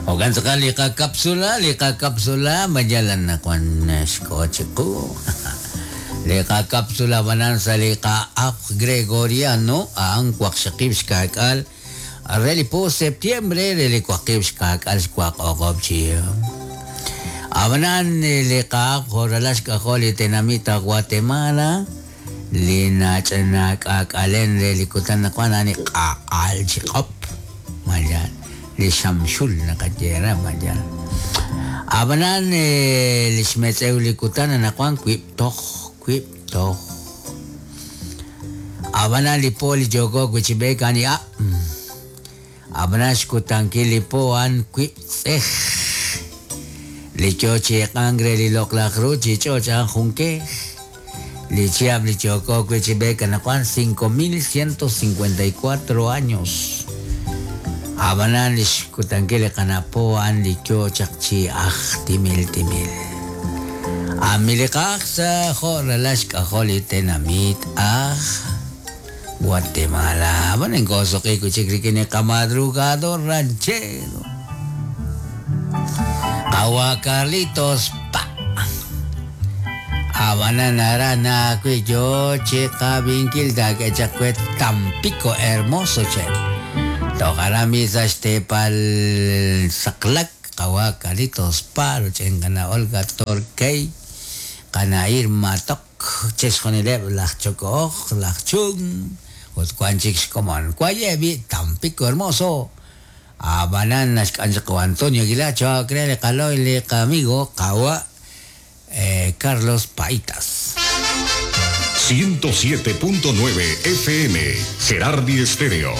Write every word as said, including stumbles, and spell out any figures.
Ogan sakal lika kapsula, lika kapsula, majalan na kwan xkochiku. Lika kapsula banan sa lika af Gregoriano, ang kwakshakib xkakal. Areli po septiembre, reli kwakib xkakal xkwak okob chiyo. Abanan lika joralash kakoli tenamita Guatemala. Lina chana kakalen reli kutan na kwan ani kaal chikop. Mayan. Li shamshul na kajera mayan. Abanan lishmetzew li kutan na kwan kwip toch kwip toch. Abanan li po li jogo kuchibek ani a. Abanan xkutankil li po an kwip tsej. Li choche kangre li loklakru chichoch an junque. Li chiab li choco kuchibek na kwan cinco mil ciento cincuenta y cuatro años. Abanan li xkutankil li kanapo an li chochak chi aj timil timil. Amilikak sa joralash kaholi tenamit aj Guatemala. Abanan gozo kay kuchikrikin kamadrugado ranchero. Kawa Carlitos pa. Abanan arana kuyo chika vinkil da kechakwet Tampico hermoso che. Tokarami sa Estepal Saklak, Kawa Carlitos Paro, Chengana Olga Torquay, Kana Irma Tok, Chesjonileb, Lach Chocooj, Lach Chung, Utcuanchix Comón, Cuayevi, Tampico Hermoso, Abanan, Ancho Antonio Aguilacho, Créele Caloy, le amigo, Kawa, eh, Carlos Paitas. ciento siete punto nueve F M, Gerardi Estéreo.